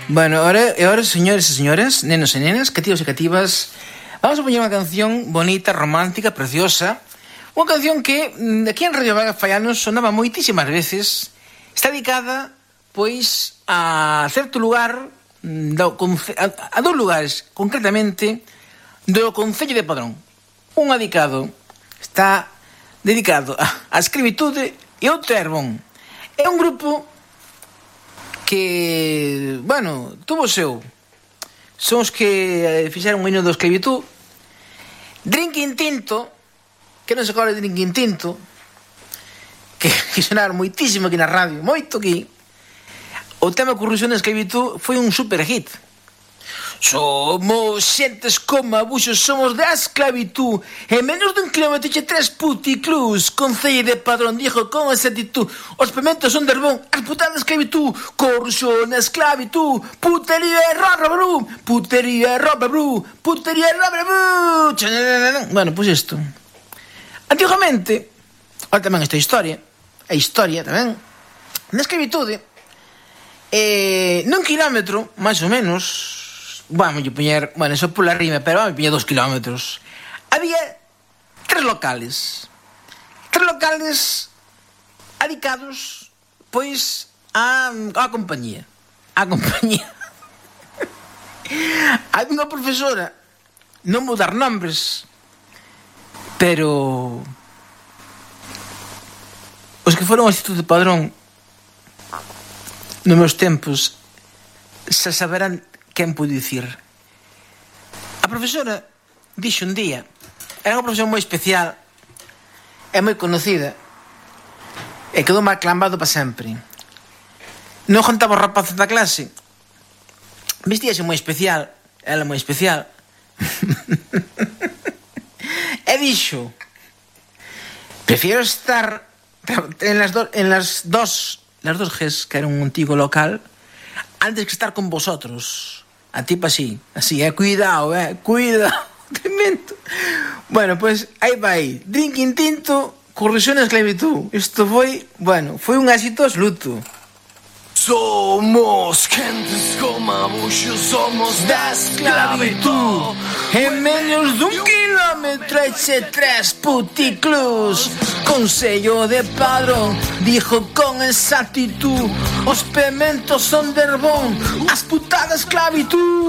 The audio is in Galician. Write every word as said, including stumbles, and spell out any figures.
Bueno, ahora, ahora, señores y señoras, nenos y nenas, cativos y cativas, vamos a poner una canción bonita, romántica, preciosa. Unha canción que aquí en Radio Vaga Fallanos sonaba moitísimas veces. Está dedicada, pois, a certo lugar, do, a, a dous lugares, concretamente, do Concello de Padrón. Un dedicado, está dedicado a, a escravitude e outro é Herbón. É un grupo que, bueno, tuvo o seu. Son os que fixeron o hino da esclavitud. Drinking Tinto, que non se acorda de Drinking Tinto, que, que sonaron moitísimo aquí na radio, moito aquí. O tema corrupción da esclavitud foi un super hit. Somos xentes como abuxos, somos da esclavitud. En menos dun kilómetro e tres puticlus. Concello de Padrón dijo con esa actitud: os pementos son de Herbón, as putadas da esclavitud. Corrupción da esclavitud. Putería e roba bru. Putería e roba bru. Putería e roba bru. Bueno, pois pues isto. Antigamente, ahora tamén esta historia, a historia tamén, na esclavitude, eh, nun kilómetro, máis ou menos, vamos a poñer, bueno, eso pola rima, pero vamos a poñer dos kilómetros, había tres locales, tres locales adicados, pois, a, a compañía, a compañía. Había unha profesora, non vou dar nombres, pero os que foron ao Instituto de Padrón nos meus tempos se saberán quen pude dicir. A profesora dixo un día, era unha profesora moi especial e moi conocida e quedou mal clambado para sempre. Non contaba os rapaces da clase, vestíase moi especial, ela moi especial. E dixo: prefiero estar en las, do, en las dos las dos Gs, que era un antigo local, antes que estar con vosotros. A tipo así, así, eh, cuidado, eh, cuidado. Tremendo. Bueno, pues aí vai, Drinking Tinto, corrupción e esclavitud. Isto foi, bueno, foi un éxito absoluto. Somos gentes como abuxos, somos da esclavitud. En menos dun kilómetro e tres puticlus. Concello de Padrón dijo con esa actitud: os pementos son de Herbón, as putadas esclavitud.